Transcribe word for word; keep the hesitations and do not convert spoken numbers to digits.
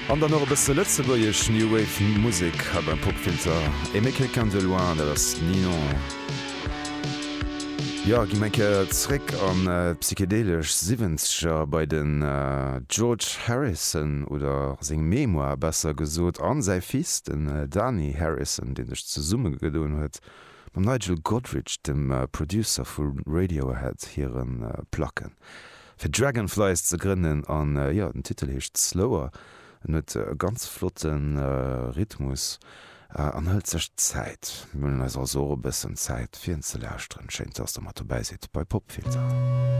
An dann nach e bësse lëtzebuergesch New Wave Musek hei beim Popfilter. Aimer quelqu'un de loin, dat ass Ninon. Jo, gi mer eng Kéier zréck an d'psychedelesch Siwwenzeger bei den George Harrison, oder seng Mémoire besser gesot, an säi Fils, den Dhani Harrison, dee sech zesummegedoen huet mam Nigel Godrich, dem Producer vu Radiohead hire Placken, fir Dragonflies ze grënnen. An jo, den Titel heescht Slower. En huet e ganz flotte Rhythmus an hëlt sech Zäit. Mir huelen eis also och e bëssen Zäit fir en ze lauschteren. Schéin, dass der mat dobäi sidd bei Popfilter.